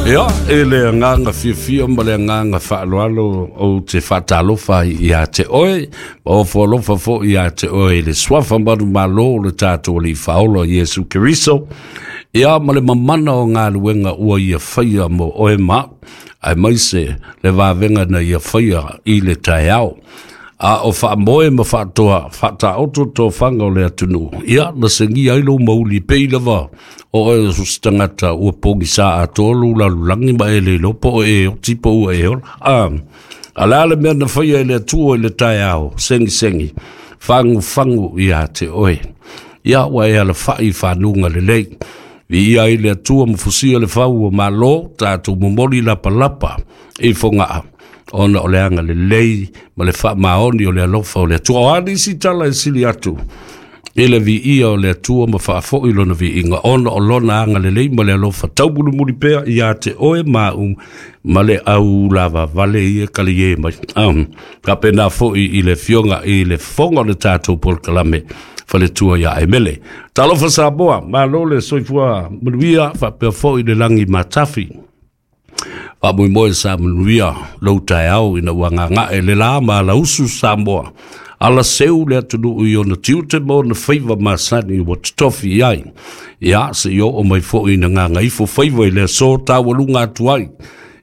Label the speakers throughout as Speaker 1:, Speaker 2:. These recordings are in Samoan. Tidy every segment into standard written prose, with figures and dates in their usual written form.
Speaker 1: Ia, e le agaga fiafia ma le agaga faaaloalo ou te faatalofa ai ia te oe, ma ofo alofa foi ia te oe i le suafa manumalo o le tatou Alii Faaola Iesu Keriso, ia ma le mamana o galuega ua ia faia mo oe ma au, aemaise le vavega na ia faia i le taeao. A o faamoe ma faatoa faataoto tofaga o le atunuu, ia na segia ai lou mauli pei lava o oe o se tagata ua pogisa atoa lou lalolagi ma e le iloa po o e oti po ua e ola. A, a le a le mea na faia e le Atua i le taeao, segisegi, fagufagu ia te oe. Ia ua e alafai i fanuga lelei. Viia ai le Atua ma fusia le fau o Malo, tatou momoli lapalapa i Fogaa, ona o le agalelei ma le faamaoni o le alofa o le Atua. O a nisi tala e sili atu i le viia o le Atua ma faafoi lona viiga, ona o lona agalelei ma le alofa taumulimuli pea ia te oe ma au ma le au lavavale ia kali e mai. Faapena foi i le afioga i le fofoga o le tatou polokalame faletua ia Emele. Talofa Samoa, malo le soifua manuia, faapea foi le lagi matafi. Faamoemoe sa manuia lou taeao ina ua gaga'e le la ma alausu Samoa, ala seu le atunuu i ona tiute ma ona faiva masani ua totofi i ai. Ia, se i oo mai foi ina gagaifo faiva i le aso taualuga atu ai,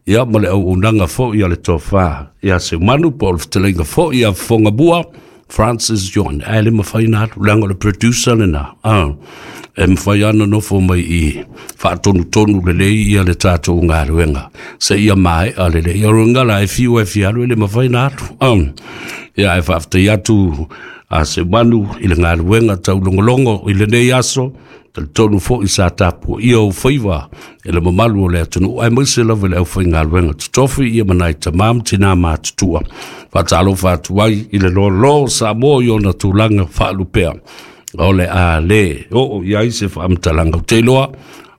Speaker 1: ia ma le auaunaga foi a le tofa ia Seumanu po o le fetalaiga foi ia Fofogamua Francis John. Ae le mafai ona alu, leaga o le producer lena. E mafai lava ona nofo mai i faatonutonu lelei ia le tatou galuega seia maea lelei. O le la e fiu e fia alu, e le mafai ona alu. Ia, ae faafetai atu a Seumanu i le galuega taulogologo i lenei aso. Talitonu foi sa tapuaia ou faiva e le mamalu o le atunuu, aemaise lava i le aufaigaluega totofi ia ma nai tamā ma tinā matutua. Faatalofa atu ai i le loaloa o Samoa i ona tulaga faalupea. O le a le oo i ai se faamatalaga, ou te iloa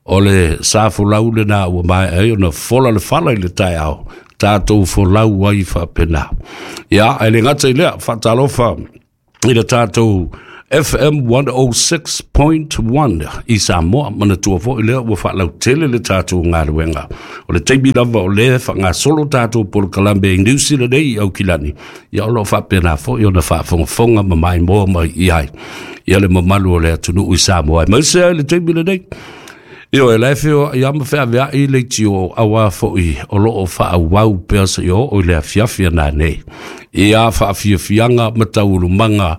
Speaker 1: o le sa folau lena ua maea ai ona fola le fala i le taeao, tatou folau ai faapena. Ia, ae le gata i lea, faatalofa i le tatou FM 106.1 i Samoa. Manatua foi lea ua faalautele le tatou galuega. O le taimi lava o lea faagasolo tatou polokalame i New Zealand nei i Aukilani, ia o lo o faapena foi ona faafogafoga ma maimoa mai i ai ia le mamalu o le atunuu i Samoa. Aemaise ai le taimi lenei, Ioe, la e feoai lava ma feaveai leitio auā foi o lo o faaauau pea seia oo i le afiafi a nanei i a faafiafiaga ma taualumaga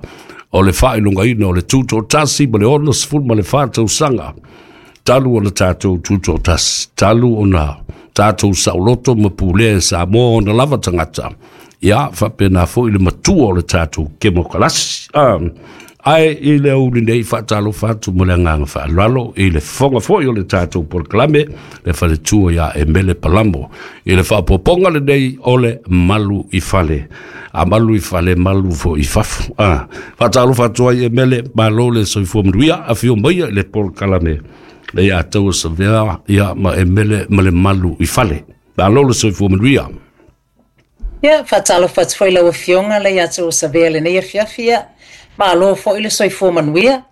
Speaker 1: o le faailogaina o le tutoatasi ma le 64 tausaga talu ona tatou tutoatasi, talu ona tatou saoloto ma pulea e Samoa ona lava tagata, ia faapena foi le matua o le tatou kemokarasi. Ae i le aoauli nei, faatalofa atu ma le agaga faaaloalo i le fofoga foi o le tatou polokalame, le faletua ia Emele Palamo, i le faaopoopoga lenei o le Malu i Fale. A malu i fale, malu foi i fafo. Faatalofa atu ai Emele, malo le soifua manuia, afio maia i le polokalame le ia taua savea ia ma Emele ma le Malu i Fale. Malo le soifua manuia.
Speaker 2: Ia, faatalofa atu foi i lau Afioga le ia te Osavea i lenei afiafi, ia, malo foi le soifua manuia.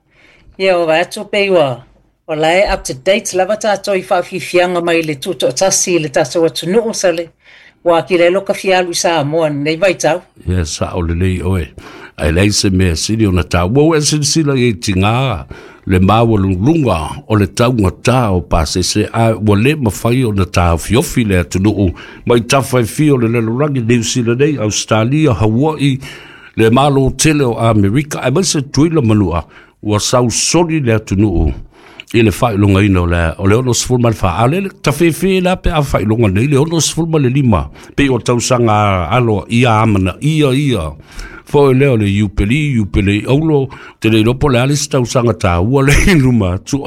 Speaker 2: Ia, ua vaai atu pei ua o la e up to date lava tatou i faafiafiaga mai le tutoatasi i le tatou atunuu sale, ua atili ai loka fia alu i Samoa i lenei vaitau.
Speaker 1: Ia, sao lelei oe. Ae leai se mea sili ona taua. Ua e silasila i ai tiga le maualuluga o le taugata o pasese, a ua le mafai ona taofiofi le atunuu mai tafa e fia o le lalolagi, Niu Sila nei, Ausetalia, Hawaii, le Malo tele o Amerika, aemaise Tutuila ma Manua, ua sausoli le atunuu i le faailogaina o le o le 64. A o le tafefe la pe a faailoga nei le 65, pei o tausaga alo ia amanaia ia foi lea o le iupeli, iupelei aulo, te le iloa po o le a le isi tausaga taua le i luma atu.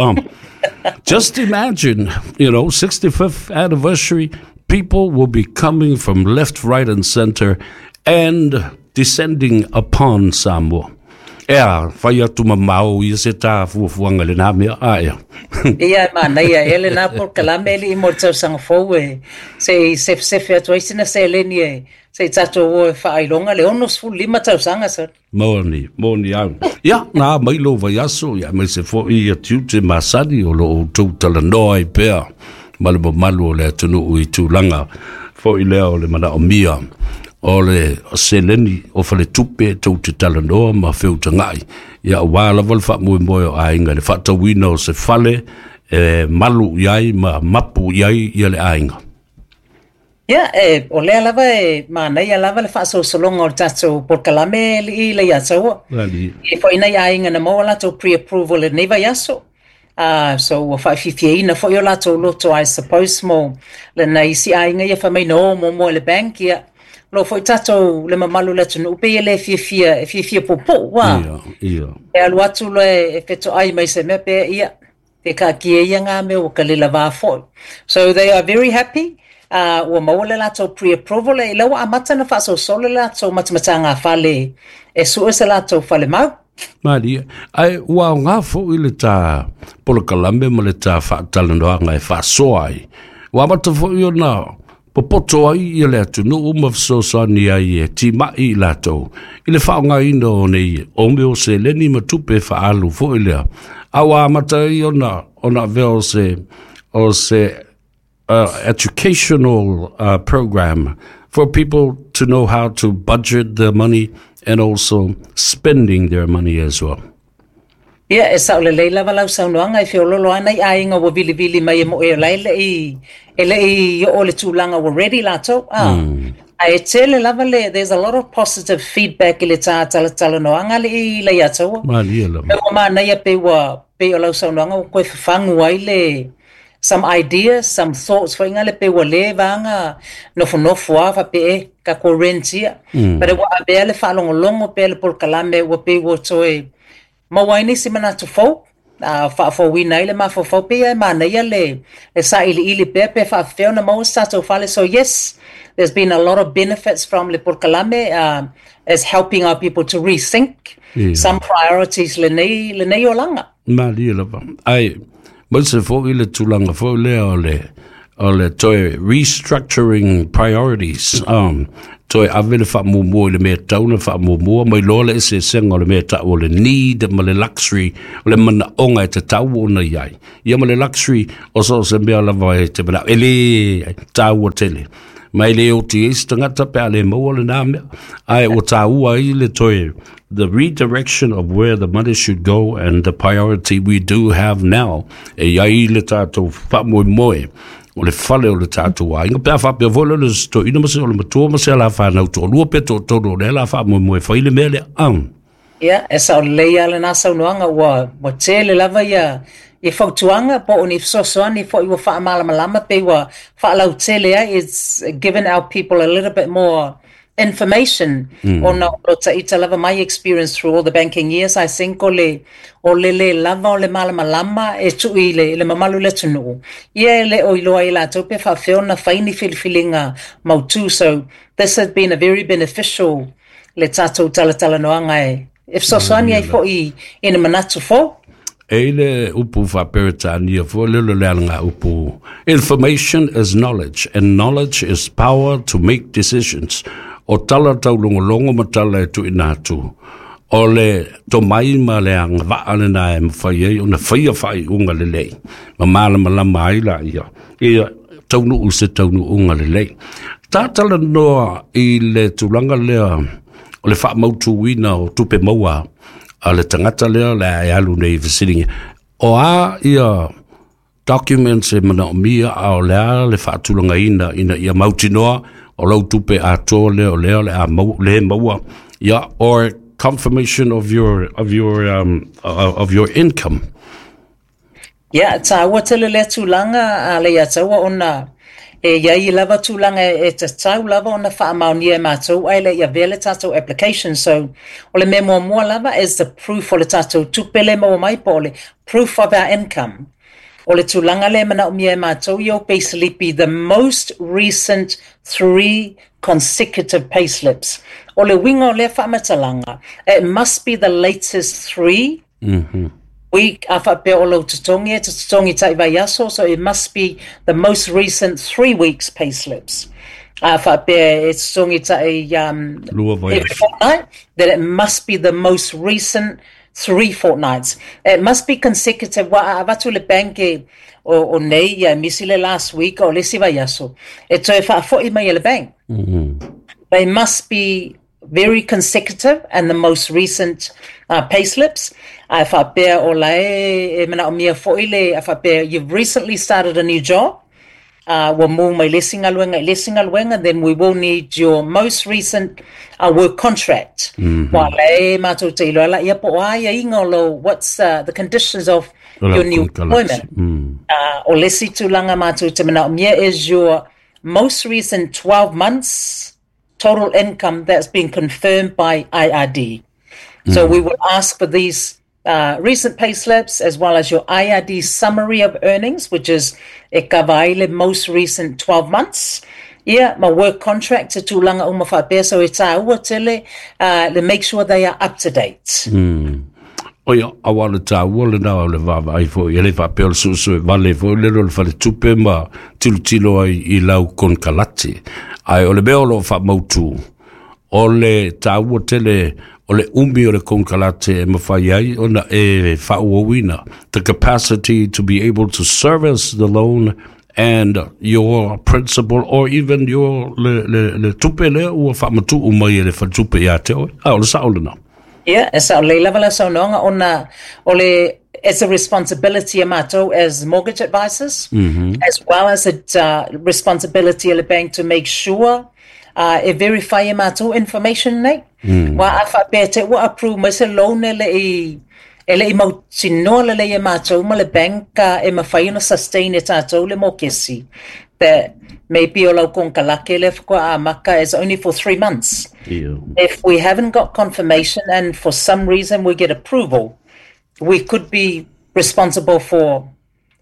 Speaker 1: Just imagine, 65th anniversary, people will be coming from left, right and center and descending upon Samoa. Ea, fai atu mamao ia se tā fuafuaga i lenā mea, a ea.
Speaker 2: Ia, e manaia ea lenā polokalame alii mo le tausaga fou e se i sefesefe atu ai sina seleni e se i tatou o e faailoga le 65 tausaga sir.
Speaker 1: Moni, moni au. Ia, nā mai lou vaiaso, ia aemaise foi ia tiute masani o lo o outou talanoa ai pea. ma le mamalu o le atunuu i tulaga foi lea o le manaomia o le seleni o faletupe tou te talanoa ma feutaga'i ia auā lava le faamoemoe o aiga i le faatauina o se fale e malu i ai ma mapu i ai ia le aiga.
Speaker 2: Ia, e, o lea lava e manaia lava le faasolosologa o le tatou polokalame alii Leiataua.
Speaker 1: Alii.
Speaker 2: E foi nai aiga na maua latou pre-approval i lenei vaiaso. So ua faafiafiaina foi o latou loto, I suppose, mo lenei isi aiga ia fai mai na o muamua i le bank, ia. Lo foi tatou le mamalu o le atunuu pei e le fiafia, e fiafia puupuu, ua.
Speaker 1: Ia, ia.
Speaker 2: E alu atu loa e fetoai mai se mea pe ia, pe taatia ia ngā mea ua kalila foi. So they are very happy. Ua maua le latou pre-approval e ila ua amata na faasolosolo le latou matamataga fale e sue se latou fale mau.
Speaker 1: Malia, ae ua aoga foi le tā polokalame ma le tā faatalanoaga e faasoa ai. Ua amata foi ona popoto ai ia le atunuu ma fesoasoani ai e tima'i i latou i le faaaogaina o nei o mea o seleni ma tupe faaalu foi lea. A ua amata ai ona avea o se educational program for people to know how to budget their money and also spending their money as well.
Speaker 2: Ia, e sao lelei lava lau saunoaga e feololo ana i aiga ua vilivili mai e mo e lai le i e le i o le tulaga ua ready latou. Ah. Ae tele lava le, there's a lot of positive feedback i le tā talatalanoaga le i Leiataua.
Speaker 1: Malia lava.
Speaker 2: E ua manaia pe ua pe o lau saunoaga ua koe fafagu ai le some ideas, some thoughts foi ngale pe ua le vaga nofonofo a faapea e ka ko rent ia. But e ua avea le faalogologo pea le polokalame ua pei ua toe maua ai nisi manatu fou, faafouina ai le mafaufau pe ia e manaia le sailiili pea pe faafefea ona maua se tatou fale. So yes, there's been a lot of benefits from le polokalame as helping our people to rethink some priorities lenei olaga.
Speaker 1: Malia lava. Ai, mo se foi le tulaga foi lea o le toe restructuring priorities. Toe ave le faamuamua i le mea tau na faamuamua mai loa le eseesega o le mea tau o le need ma le luxury o le manaoga e tatau ona i ai. Ia ma le luxury o so se mea lava e te manao. E le tāua tele. Ma e le oti e se tagata pe a le maua le nā mea. Ae ua tāua ai le toe the redirection of where the money should go and the priority we do have now e iai le tātou faamoemoe o le fale o le tātou aiga. Pe a faapea foi le se toeaina ma se o le matua ma se ala whanau toalua pe toatolu o le ala faamoemoe fai le mea lea.
Speaker 2: Ia, e sao lelei lava lena saunoaga ua tele lava ia fautuaga po o ni fesoasoani foi ua faamalamalama pe ua faalautele ai. It's given our people a little bit more information ona o lo taita lava my experience through all the banking years, I think o le le lava o le malamalama e tui i le mamalu le atunuu ia e le o iloa i latou pe faafefea ona fai ni filifiliga mautu. So this has been a very beneficial le tatou talatalanoaga e fesoasoani ai foi i ni manatu fou.
Speaker 1: E i le upu faaperetania foi le le alaga upu, "Information is knowledge and knowledge is power to make decisions." O tala taulogologo ma tala e tuuina atu o le tomai ma le agavaa lena e mafai ai ona faia faaiuga lelei ma malamalama ai laia ia taunuu se taunuuga lelei. Tatalanoa i le tulaga lea o le faamautuina o tupe maua a le tagata lea le e alu nei fesiligia o a ia documents e manaomia a o le a le faatulagaina ina ia mautinoa o lau tupe atoa lea o lea o le a mau, le maua ia or confirmation of your income.
Speaker 2: Ia, tāua tele lea tulaga a Leiataua ona e iai lava tulaga e tatau lava ona faamaonia e matou ae le i avea le tatou application. So, o le mea muamua lava is the proof o le tatou tupe le maua mai po o le proof of our income. O le tulaga le manaomia e matou i ou payslip, the most recent three consecutive payslips. O le uiga o lea faamatalaga, it must be the latest 3 week a faapea o lou totogi e te totogi tai vaiaso, so it must be the most recent 3 weeks payslips. A faapea e totogi tai
Speaker 1: lua
Speaker 2: every
Speaker 1: vaiaso.
Speaker 2: Fortnight, then it must be the most recent 3 fortnights. It must be consecutive. Wa a avatu le bank e o nei ia misi le last week o le isi vaiaso. E toe faafo'i mai e le bank. They must be very consecutive and the most recent payslips. A faapea o la e manaomia fo'i le a faapea you've recently started a new job, ua mū mai le isi galuega i le isi galuega, then we will need your most recent work contract. Ua la e matou te iloa laia po o a aiaiga o lo what's the conditions of your new employment. O le isi tulaga matou te manaomia is your most recent 12 months total income that's been confirmed by IRD. So we will ask for these recent pay slips as well as your IRD summary of earnings, which is e kava ai le most recent 12 months. Ia, ma work contract te tulaga uma faapea, so e tāua tele le make sure they are up to date.
Speaker 1: Oia, aua le tāua le nā o le vaavaai foi, e le faapea o le suesue vale foi le le faletupe ma tilotilo ai i lau konekarate. Ae o le mea o lo o faamautu, o le tāua tele o le umi o le konekarate e mafai ai ona e faaauauina. The capacity to be able to service the loan and your principal or even your le tupe lea ua faamatuu mai e le faletupe ia te oe. A o le sao lena.
Speaker 2: Yeah, e sao lelei lava la saunoaga ona o le it's a responsibility a matou as mortgage advisors as well as a responsibility a le bank to make sure e verify e matou information nei. Wa a faapea te ua approve mai se loan e le i mautinoa lelei e matou ma le bank e mafai ona sustain e tatou le mokesi, that maybe o lau konekarate le faatoa amata is only for 3 months. If we haven't got confirmation and for some reason we get approval, we could be responsible for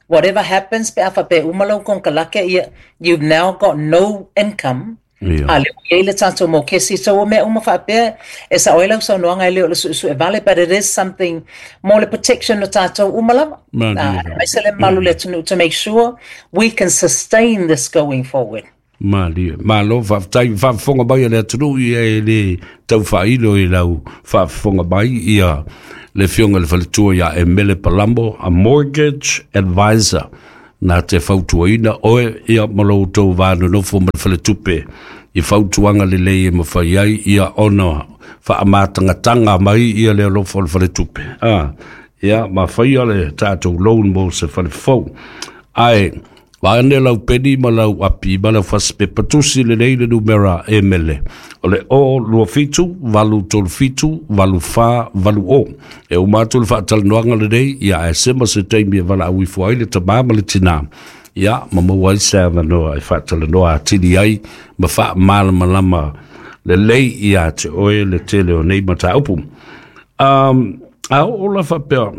Speaker 2: whatever happens pe a faapea uma lau konekarate ia, you've now got no income. A le ua i le tatou mokesi. So o mea uma faapea e sao ai lau saunoaga e le o le suesue vale, but it is something mo le protection o tatou uma lava. Aemaise le mamalu le atunuu to make sure we can sustain this going forward.
Speaker 1: Malie. Malo, faafetai faafofoga mai a le atunuu ia e le tau faailo i lau faafofoga mai ia le afioga i le faletua ia Emele Palamo, a mortgage advisor na te fautuaina oe ia ma lo outou va nonofo ma le faletupe i fautuaga lelei e mafai ai ia ona faamatagataga mai ia le alofa o le faletupe. Ah, ia ma faia le tatou loan mo se falefou. Ae vaeane lau peni ma lau api ma lau fasipepa tusi lelei le numera Emele. O le 0 27 8 3 7 8 4 8 o. E uma atu le faatalanoaga lenei, ia ae sema se taimi e valaau ifo ai le tamā ma le tinā. Ia, ma maua ai se avanoa e faatalanoa atili ai ma faamalamalama lelei ia te oe le tele o nei mataupu. A o la faapea,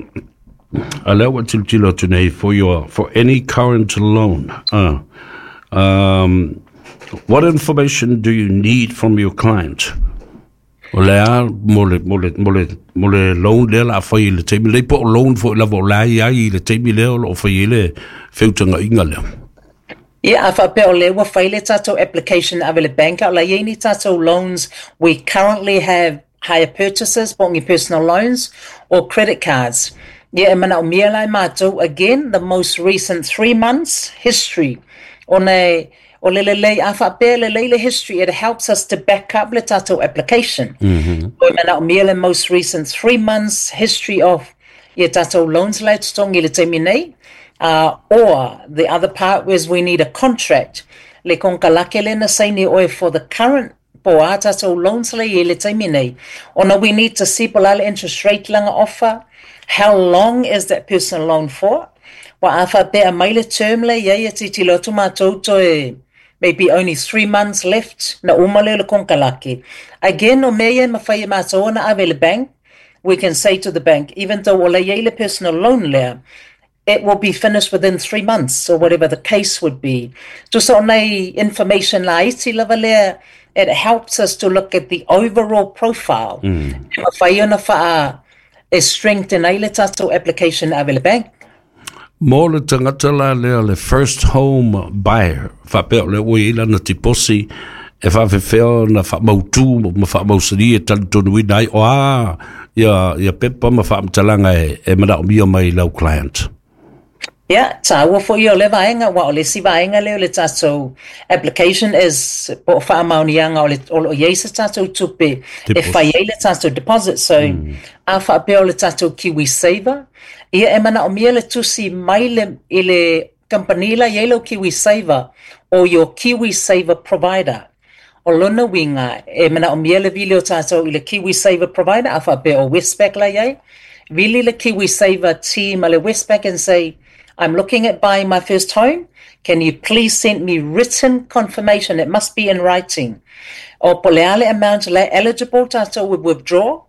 Speaker 1: a lea ua tilotilo atu nei for any current loan. What information do you need from your client? O le a mo le loan lea la fai i le taimi lei po o loan foi lava o la i ai i le taimi lea o lo o fai ai le feutagaiga lea.
Speaker 2: Yeah, a faapea o le ua fai le tatou application ave le bank o la i ai ni tatou loans, we currently have hire purchases, po o ni personal loans or credit cards. Yeah, e manaomia la e matou, again, the most recent 3 months history. Ona e, o le lelei, a faapea lelei le history, it helps us to back up le tatou application. O e manaomia le most recent 3 months history of ia tatou loans la e totogi i le taimi nei. Or the other part was we need a contract. Le konekarate le na saini oe for the current po a tatou loans le i le taimi nei. Ona we need to see po la le interest rate langa offer. How long is that personal loan for? Wa a faapea mai le term le ia ia tilotilo atu matou toe maybe only 3 months left na uma le le konekarate. Again, o mea ia e mafai e matou ona ave le bank, we can say to the bank, even though o la i ai le personal loan lea, it will be finished within 3 months or whatever the case would be. Tusa o nei information la iti lava lea, it helps us to look at the overall profile. E mafai ona faa e strengthen ai le tatou application ave le bank.
Speaker 1: Mo le tagata la lea le first home buyer, faapea o le ua i lana tiposi E faafefea ona faamautū ma faamausali e talitonuina ai o a ia pepa ma faamatalaga e manaomia mai lau client?
Speaker 2: Ia, tāua foi o le vaega, ua o le isi vaega lea o le tātou application is po o faamaoniaga o le o lo o i ai se tātou tupe e fai ai le tātou deposit. So, a faapea o le tātou Kiwi Saver, ia e manaomia le tusi mai le, i le kamupani la i ai lau Kiwi Saver o your Kiwi Saver provider. O lona uiga, e manaomia le vili o tātou i le Kiwi Saver provider, a faapea o Westpac la i ai, vili le Kiwi Saver team a le Westpac and say, "I'm looking at buying my first home. Can you please send me written confirmation?" It must be in writing. O po o le a le amount la eligible tātou with withdraw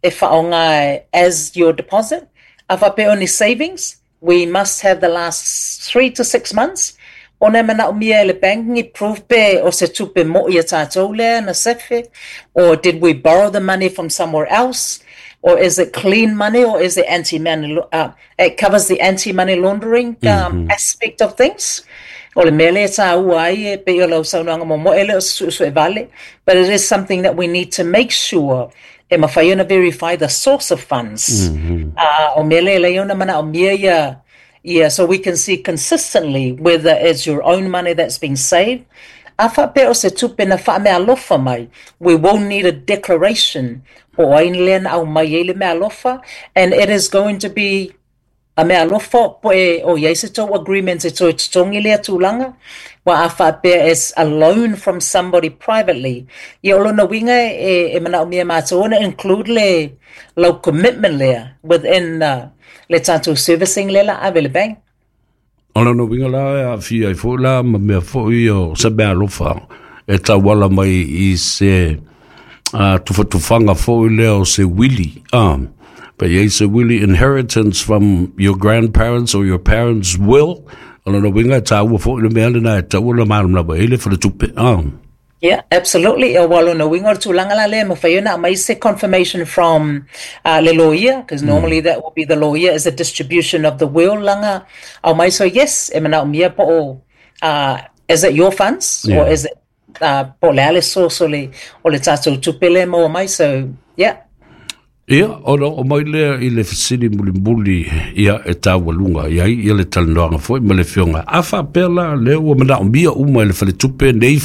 Speaker 2: e faaaoga as your deposit. A faapea o ni savings, we must have the last 3 to 6 months. Ona e manaomia e le bank ni proof pe o se tupe mo'i a tātou lea na sefe, or did we borrow the money from somewhere else, or is it clean money, or is it anti-money, it covers the anti-money laundering aspect of things. O le mea lea tāua ai e pei o lau saunoaga muamua e le o se suesue vale, but it is something that we need to make sure e mafai ona verify the source of funds. O mea lea lei ona manaomia ia so we can see consistently whether it's your own money that's been saved. A faapea o se tupe na faameaalofa mai, we will need a declaration po o ai lea na aumai ai le meaalofa, and it is going to be a meaalofa po e o i ai se tou agreement e toe totogi lea tulaga. Ua a faapea is a loan from somebody privately, ia o lona uiga e manaomia matou ona include le lau commitment lea within le tatou servicing lea la ave le bank.
Speaker 1: O lona uiga la e aafia ai foi la ma mea foi o se meaalofa e tauala mai i se tufatufaga foi lea o se wili pe i ai se wili, inheritance from your grandparents or your parents' will. O lona uiga e tāua foi le mea lena e taua na malamalama ai le faletupe.
Speaker 2: Yeah, absolutely. O ua lona uiga o le tulaga la lea, mafai ona aumai se confirmation from le lawyer, because normally that will be the lawyer is a distribution of the will laga aumai. So yes, e manaomia po o is it your funds or is it po o le a le source o le tātou tupe lea maua mai. So yeah.
Speaker 1: Ia, ona o mai lea i le fesili mulimuli ia e taualuga i ai ia le talanoaga foi ma le afioga. A faapea la lea ua manaomia uma e le faletupe nei.